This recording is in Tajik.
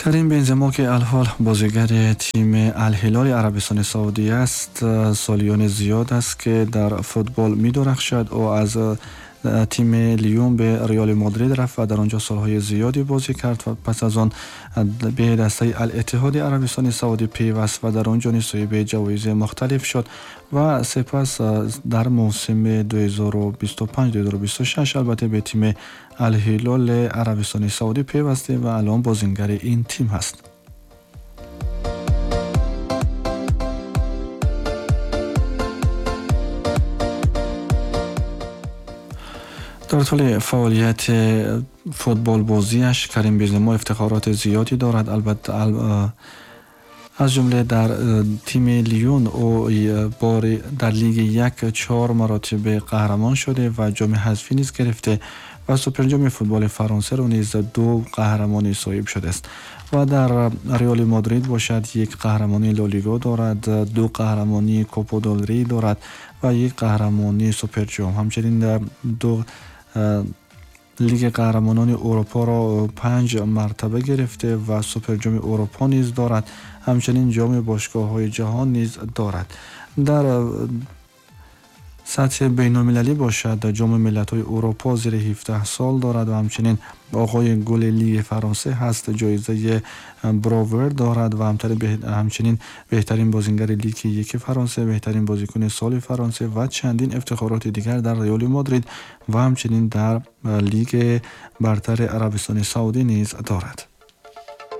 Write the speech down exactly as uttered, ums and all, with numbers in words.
Карим Бензема ки алҳол бозигари тими Ал-Ҳилоли Арабистони Саудӣ аст, солиёни зиёд аст ки дар футбол медурахшад. Ӯ аз тими Лион به Реали Мадрид рафт ва дар онҷо солҳои зиёде бозӣ кард ва пас аз он به дастаи Ал-Иттиҳоди Арабистони Саудӣ пайваст ва дар онҷо низ соҳиби ҷавоизи мухталиф шуд ва сипас дар мавсими ду ҳазору бисту панҷ ду ҳазору бисту шаш албатта به тими Ал-Ҳилоли Арабистони Саудӣ пайвасте ва алон бозингари ин тим ҳаст. Дар тӯли фаъолияти футболбозиаш Карим Бензема ифтихороти зиёде дорад. Албатта аз ҷумла дар тими Лион ӯ бори дар лиги як чор маротиба қаҳрамон шуда ва ҷоми ҳазфӣ низ гирифта ва суперҷоми футболи Фаронсаро низ ду қаҳрамонӣ соҳиб шудааст ва дар Реали Мадрид бошад як қаҳрамонии Ла Лига дорад, ду қаҳрамонии Копа дел Рей дорад ва як қаҳрамонии суперҷом. Ҳамчунин ду Лиги қаҳрамонони Аврупоро панҷ мартаба гирифта ва суперҷоми Аврупо низ дорад. Ҳамчунин ҷоми бошгоҳҳои ҷаҳон низ дорад. Дар сатҳи байналмилалӣ бошад ҷоми миллатҳои Аврупо зери ҳабдаҳ сол дорад ва ҳамчунин оғои гули Лиги Фаронса ҳаст, ҷоизаи Бровер дорад ва ҳамчунин беҳтарин бозингари Лиги яки Фаронса, беҳтарин бозикуни соли Фаронса ва чандин ифтихороти дигар дар Реали Мадрид ва ҳамчунин дар Лиги бартари Арабистони Саудӣ низ дорад.